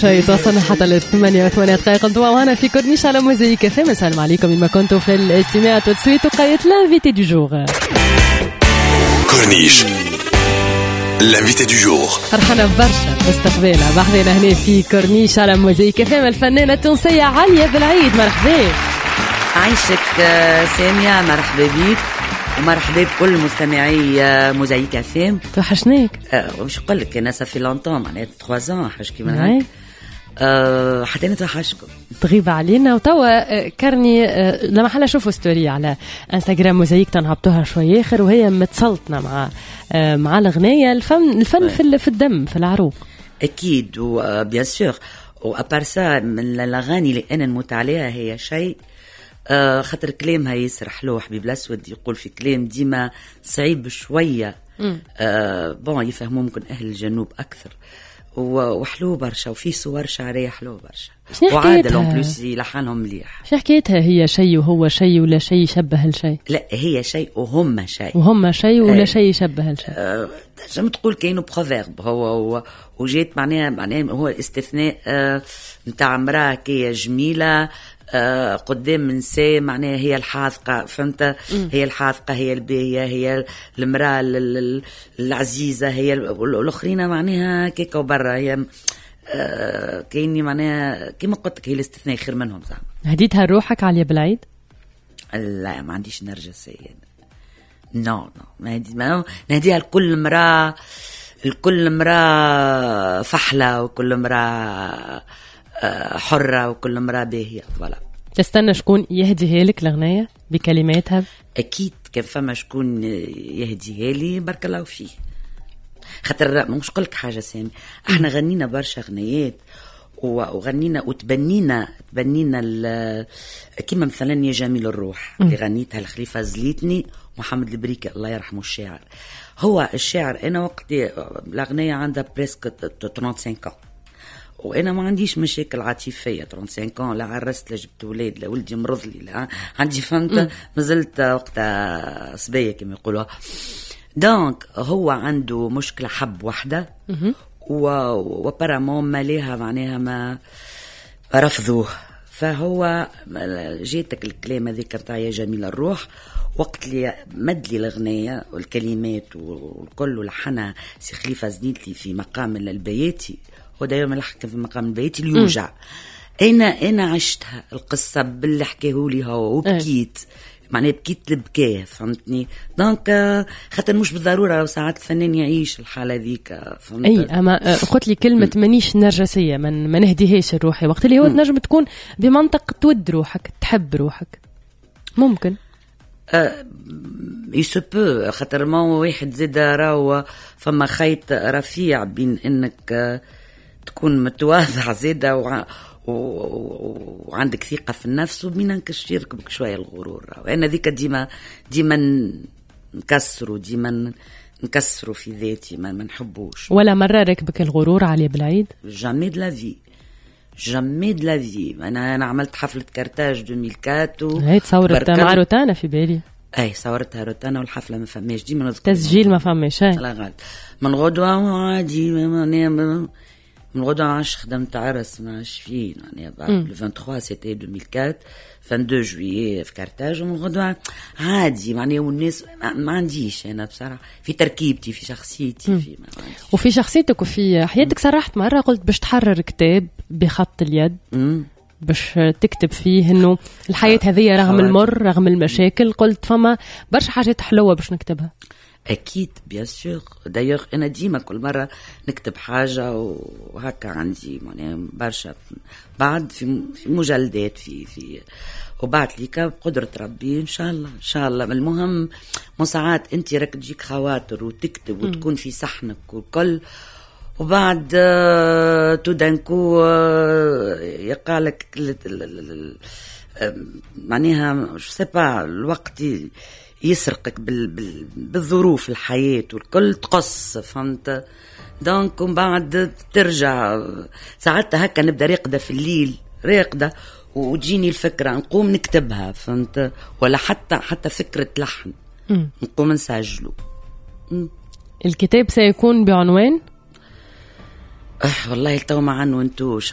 شيء توصلنا حتى ل8:08 انتم معنا في كورنيش على موزايك اف ام. السلام عليكم ما كنتوا في الاستماع tout de suite وقيت l'invité du jour. كورنيش l'invité du jour. فرحانة برشا باستقبالها بحذنا هنا في كورنيش على موزايك اف ام الفنانة التونسية عليا بالعيد. مرحبا. عايشك سامية، مرحبا بيك ومرحبا بكل مستمعي موزايك اف ام. توحشناك. واش نقول لك، انا ça fait longtemps، معناها 3 ans حاجة كيما هكا. حتى انا توحشكم. تغيب علينا وتوا كرني لما حلا شوفوا story على انستغرام موزايك تنهبطوها شوي اخر وهي متسلطنه مع الغنايه. الفن الفن في الدم، في العروق. اكيد و bien sûr، و à part ça من الاغاني اللي انا نموت عليها هي شيء، خاطر كلامها ياسر حلو. حبيب الاسود يقول في كلام ديما صعيب شويه، bon يفهموا ممكن اهل الجنوب اكثر، وحلو برشا وفي صور شعرية حلو برشا. وعادل en plus لحنهم مليح. شو حكايتها هي شيء وهو شيء ولا شيء يشبه الشيء؟ لا، هي شيء وهم شيء. وهم شيء ولا شيء يشبه الشيء. تنجم تقول كاينه proverbe هو وجيت معناها هو استثناء نتاع امراة كي جميلة قدام نساء، معناها هي الحاذقة، فهمت؟ هي الحاذقة، هي الباهية، هي المرأة العزيزة، هي الأخرين معناها كيكا وبرا. هي كايني معناها كيما قلت لك هي الاستثناء خير منهم زعما. هديتها روحك عليا بالعيد؟ لا، ما عنديش نرجسية، non non، ما نهديها لكل امرأة، لكل امرأة فحلة وكل امرأة حرة وكل امرأة باهية، voilà. تستنى شكون يهديها لك الأغنية بكلماتها؟ أكيد، كان فما شكون يهديها لي بارك الله فيه. خاطر مش نقول لك حاجة سامي، احنا غنينا برشا غنيات وغنينا وتبنينا تبنينا كيما مثلا يا جميل الروح اللي غنيتها الخليفة زليتني محمد البريكي الله يرحمه الشاعر. هو الشاعر، انا وقت الاغنية عندها presque 35 ans وانا ما عنديش مشاكل عاطفيه، 35 ans، لا عرست لا جبت ولاد لا ولدي مرض لي لا عندي، فهمت؟ مازلت وقتها صبية كما يقولوا. donc هو عنده مشكله، حب وحده و apparemment ماليها معناها ما رفضوه، فهو جيتك الكلام هذيك نتاع يا جميل الروح. وقت اللي مد لي الاغنية والكلمات والكل ولحنها سي خليفة زنيتلي في مقام البياتي، هو دايما لحن في مقام البياتي اللي يوجع. انا عشتها القصة باللي حكاهولي هو وبكيت، معناها بكيت البكاء، فهمتني؟ donc خاطر مش بالضرورة ساعات الفنان يعيش الحالة ذيك، فهمت؟ اي، اما قلت لي كلمة مانيش نرجسيه، من ما نهديهاش لروحي، وقت اللي هو تنجم تكون بمنطق تود روحك، تحب روحك، ممكن. il se peut، خاطر ما واحد زاد راهو فما خيط رفيع بين انك تكون متواضع زاده وعندك ثقة في النفس وبين انك يركبك شوية الغرور. انا ذيك ديما ديما نكسروا، ديما نكسروا في ذاتي، ما نحبوش. ولا مرة ركبك الغرور علي بالعيد؟ jamais de la vie، jamais de la vie. انا عملت حفلة كارتاج 2004. هي تصورت مع روتانا في بالي. اي، صورتها روتانا والحفله ما فماش، ديما نذكر. تسجيل ما فماش. لا غالط، من غدوه عادي، من غدوه ما عادش خدمت عرس، ما عادش فيه يعني. le 23 c'était 2004، 22 juillet في كارتاج، ومن غدوه عادي معناها. والناس ما عنديش انا بصراحة في تركيبتي، في شخصيتي، في ما عنديش. وفي شخصيتك وفي حياتك صرحت مرة قلت باش تحرر كتاب بخط اليد باش تكتب فيه انه الحياة هذه رغم المر، رغم المشاكل، قلت فما برشا حاجات حلوة باش نكتبها. اكيد، bien sûr. d'ailleurs انا ديما كل مرة نكتب حاجة وهكا عندي معناها برشا بعد في مجلدات في وبعد ليك بقدرة ربي ان شاء الله، ان شاء الله. المهم ساعات انت راك تجيك خواطر وتكتب وتكون في صحنك والكل، وبعد tout d'un coup يقع لك معناها je sais pas، الوقت يسرقك بالظروف الحياة والكل، تقص، فهمت؟ donc ومن بعد ترجع ساعات هكا نبدا راقدة في الليل، راقدة وتجيني الفكرة نقوم نكتبها، فهمت؟ ولا حتى فكرة لحن نقوم نسجله. الكتاب سيكون بعنوان؟ والله تو ما عنونتوش.